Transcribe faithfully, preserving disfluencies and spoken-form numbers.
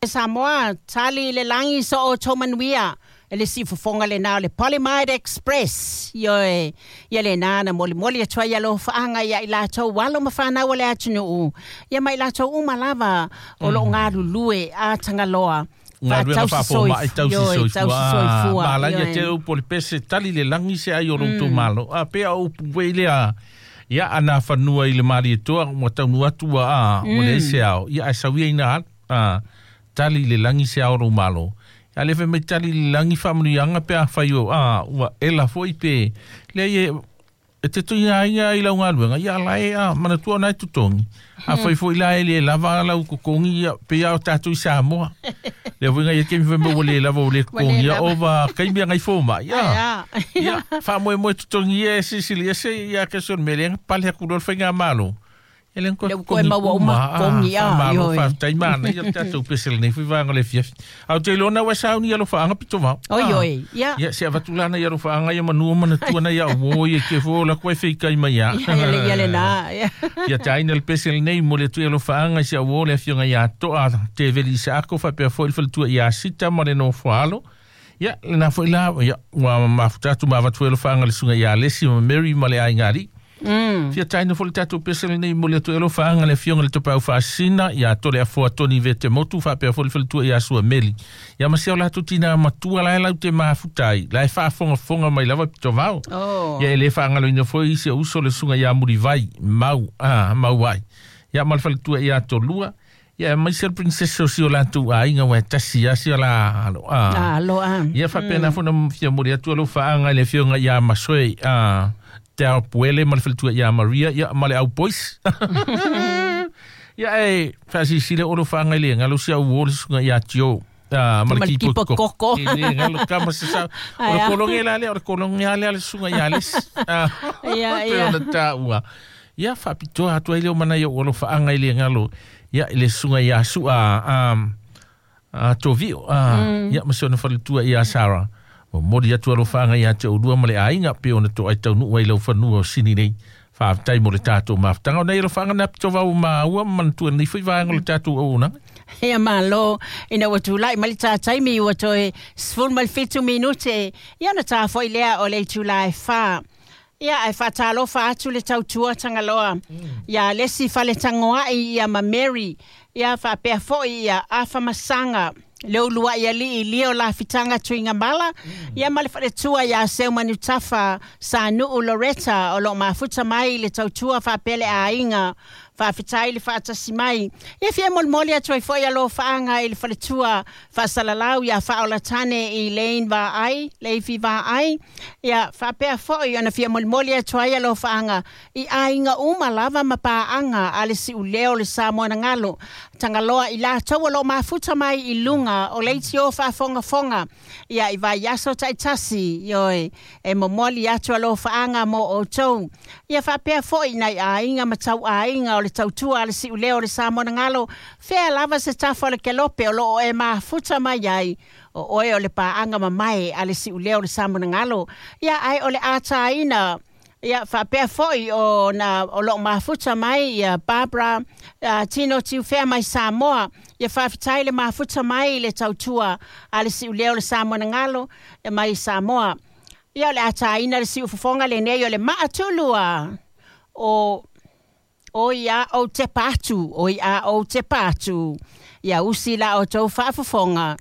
Samoa, tali i le lagi so outou manuia. E le siufofoga lenā o le Polymide Express. Ioe, ia lenā na molimoli atu ai alofaaga iā i latou alo ma fanau a le atunuu, ia ma i latou uma lava o loo galulue a Tagaloa galuega faafomai tausi soifua. Malaia ioe. Te upu o le pese tali le lagi se ai o lou itumalo. A pea o upu foi lea ia ana fanua i le Malietoa ua taunuu atu ua a ua leai se ao. Ia ae sau ia ina alu. A tali le lagi se ao o lou malo. A le fai mai tali le lagi faamanuiaga pe afai o a ua ela foi pe leai e e te tuiaiga i lau galuega ia la e a manatua ona e totogi. Afai foi la e le lava lau totogi ia pei lava o tatou i Samoa. Lea foi nai taimi fai mai ua le lava ua le Ua le totogia lava. Ova taimi agai fomai Ai a. a. Ia faamoemoe totogi ia e silisili ese ia kesi o le mea lea na pale atu loa le faigamalo. E le na toe Lea ua toe totogi maua uma uma a totogi a, faamalo ioe. faafetai manaia le tatou pese lenei foi vaega o le afiafi. Ae ou te iloa na ua sauni i alofaaga pito vao. Oi A. oi, ia. Ia se avatu lana i alofaaga ia manua manatua na ia uo ia ke fo la koe feikai mai ia. Ia, ia, le- ia lenā. Ia. Ia taina le pese lenei mo le atu i alofaaga i si au uo le afioga ia Toa Teveli Isaako faapea foi le faletua ia Sita ma le nofoalo. Ia lena foi la ia ua mafuta atu ma avatu foi alofaaga le susuga ia Alesi ma Mary ma le aiga alii. Mm. Fia taina foi le tatou pese lenei mo le atu i alofaaga le afioga i le Tapaau Faasisina ia Tole Afoa Toni Vete Motu faapea foi le faletua ia Sua Meli. Ia ma si o latou tina matua la e lau te mafuta ai, la e faafogafoga mai lava pitovao. Oh. Ia e le faagaloina foi si ou uso le susuga ia Mulivai Mau a Mau ai. Ia ma le faletua ia Tolua. Ia aemaise le princess o si o latou aiga ua e tasi lava si o la alo a. Alo a. Ia faapena foi ona fia momoli atu alofaaga i le afioga ia Masoe a Te Ao Puele ma le faletua ia Maria ia ma le au boys. Ia e faasilasila o alofaaga i le galo si au uo le susuga ia Tio. Ah, ma le Ma le kipo kipo koko. koko. E le galo kama se sa. O Ai le a. kolonge la lea, o le kolonge lea le susuga ia Alesi. Ah, Ia, pe ia. ona taua. Ia faapitoa atu ai lea o mana ia o alofaaga i le galo. Ia i le susuga ia Sua um, a Tovio. Ah, ia ma si ona faletua ia Sarah. Momoli atu alofaaga ia te oulua ma le aiga pe ona toai taunuu ai lau fanua o sini nei. Faafetai mo le tatou mafutaga. O nei alofaaga na pitovao maua ma manatua lenei foi vaega o le tatou auaunaga. Ia malo, ina ua tulai mai le tā taimi ua toe sefulu ma le fitu minute, ia ona tā foi lea o le itulā e whā. Ia, ae faatalofa atu le tautua Tagaloa. Ia Lesi Faletagoai ia ma Mary. Ia faapea foi ia Afa Masaga. Le uluai alii lio lafitaga Tuigamala. Ia ma le faletua ia Seu Manutafa Sanuu Loretta o loo mafuta mai le tautua faapea le aiga. Faafetai le faatasi mai. Ia fia molimoli atu ai foi alofaaga i le faletua faasalalau ia Faaolatane i Lane Vaai, Leifi Vaai. Ia faapea foi ona fia molimoli atu ai alofaaga i aiga uma lava ma paaga a le siuleo le Samoa na galo. Tagaloa i latou o loo mafuta mai i luga o leitio faafogafoga. Ia i vaiaso taitasi, ioe, e momoli atu alofaaga mo outou. Ia faapea foi nai aiga ma tauaiga o le tautua a le siuleo o le Samoa na galo. Fea lava se tafa o le kelope o loo e mafuta mai ai. O oe o le paaga mamae a le siuleo o le Samoa na galo. Ia ae o le ataina. Ia faapea foi o na o loo mafuta mai ia Barbara uh, Tino Tiufea mai Samoa. Ia faafetai le mafuta mai i le tautua a le siuleo o le Samoa na galo e mai Samoa. Ia o le ataina le siufofoga lenei o le maatulua o o ia o te patu, o ia o te patu. Ia usi la o tau faafofoga.